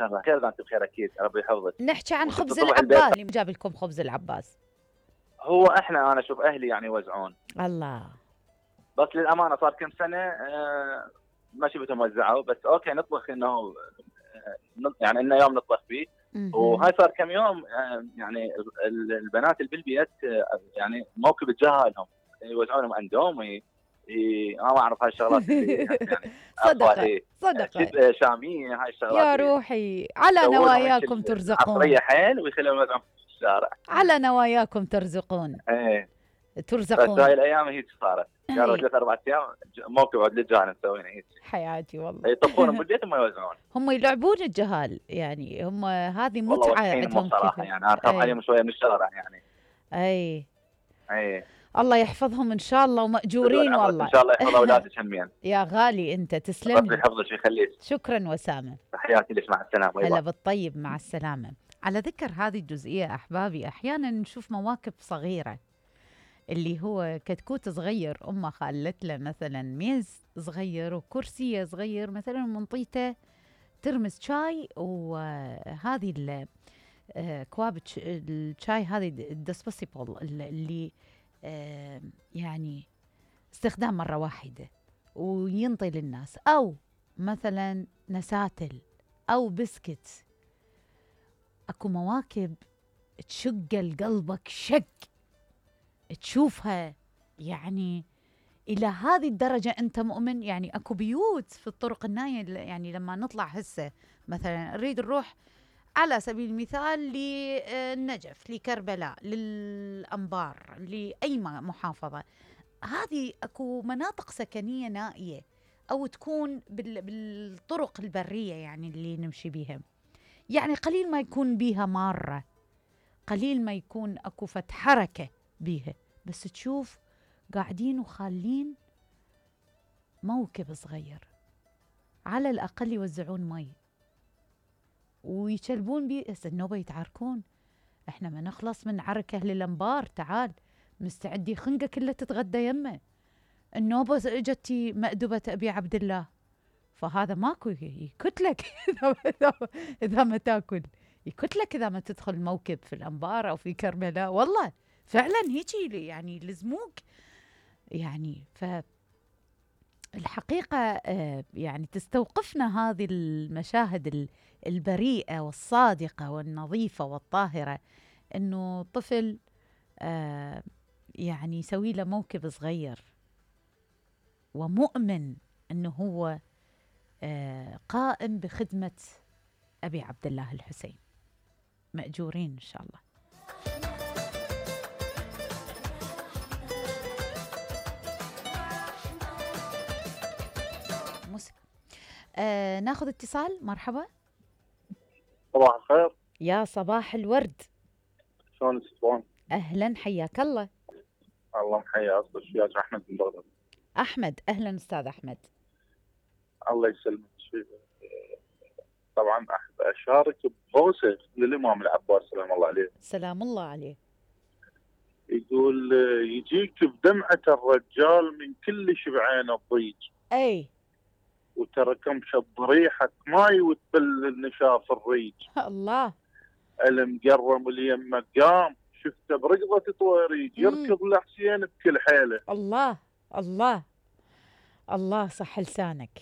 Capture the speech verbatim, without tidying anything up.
الله خير، انت بخير اكيد، ربي يحفظك. نحكي عن خبز العباس، اللي جاب لكم خبز العباس. هو احنا انا اشوف اهلي يعني يوزعون. الله. بس للامانه صار كم سنه آه ما شفتهم وزعوا، بس اوكي نطبخ انه آه يعني انه يوم نطبخ فيه. وهاي صار كم يوم آه يعني البنات اللي بالبيت آه يعني موكب تجاهلهم، يوزعونهم اندومي، انا ما اعرف هاي الشغلات اللي يعني صدقه صدقه شاميه، هاي الشغلات يا روحي على نواياكم ترزقون. عصريه حيل ويخليهم يوزعون في الشارع. على نواياكم ترزقون. ايه ترزقون. بس هاي الايام هيك صارت، قالوا ثلاث اربع ايام موكب عود للجهال مسوينه هيك. حياتي والله. يطبخون بالبيت وما يوزعون. هم يلعبون الجهال يعني، هم هذه متعه عندهم صراحه يعني اخاف عليهم شويه من الشارع يعني. اي اي الله يحفظهم ان شاء الله وماجورين والله. ان شاء الله يحفظ اولادك همين. يا غالي انت تسلم. ربي يحفظك ويخليك. شكرا وسامه. تحياتي لك، مع السلامه. هلا بالطيب، مع السلامه. على ذكر هذه الجزئيه احبابي، احيانا نشوف مواقف صغيره، اللي هو كتكوت صغير امه خلت له مثلا ميز صغير وكرسي صغير مثلا منطيته ترمس شاي، وهذه كواب الشاي هذه الدسبوسيبل اللي يعني استخدام مرة واحدة وينطي للناس، أو مثلا نساتل أو بسكت. أكو مواكب تشق قلبك شق تشوفها، يعني إلى هذه الدرجة أنت مؤمن. يعني أكو بيوت في الطرق الناية، يعني لما نطلع هسه مثلا نريد نروح على سبيل المثال للنجف، لكربلاء، للأنبار، لأي محافظة، هذه أكو مناطق سكنية نائية، أو تكون بالطرق البرية يعني اللي نمشي بيها، يعني قليل ما يكون بيها مارة، قليل ما يكون أكو فت حركة بيها، بس تشوف قاعدين وخالين موكب صغير، على الأقل يوزعون مي ويشلبون بيه. هسه النوبة يتعاركون، احنا ما نخلص من عركة للأنبار، تعال مستعدي خنقة كلها تتغدى يمه. النوبة اجتي مأدبة أبي عبد الله، فهذا ماكو يكتلك إذا ما تاكل، يكتلك إذا ما تدخل موكب في الأنبار أو في كربلاء. والله فعلا هيجي يعني لزموك يعني. ف الحقيقة يعني تستوقفنا هذه المشاهد البريئة والصادقة والنظيفة والطاهرة، إنه طفل يعني يسوي له موكب صغير ومؤمن إنه هو قائم بخدمة أبي عبد الله الحسين. مأجورين إن شاء الله. آه ناخذ اتصال. مرحبا. صباح الخير. يا صباح الورد. شلونك تسوون؟ اهلا حياك الله. الله محيا اصل الشياج احمد من بغداد. احمد اهلا استاذ احمد. الله يسلمك. طبعا احب اشارك بهوسه للامام العباس سلام الله عليه. سلام الله عليه. يقول يجيك بدمعه الرجال من كل شبعان الضيج. اي وتركمش بضريحك ماي وتبل النشاف الريج. الله. المقرم اليم قام شفته برقضة طويريج يركض لحسين بكل حيله. الله الله الله صح لسانك.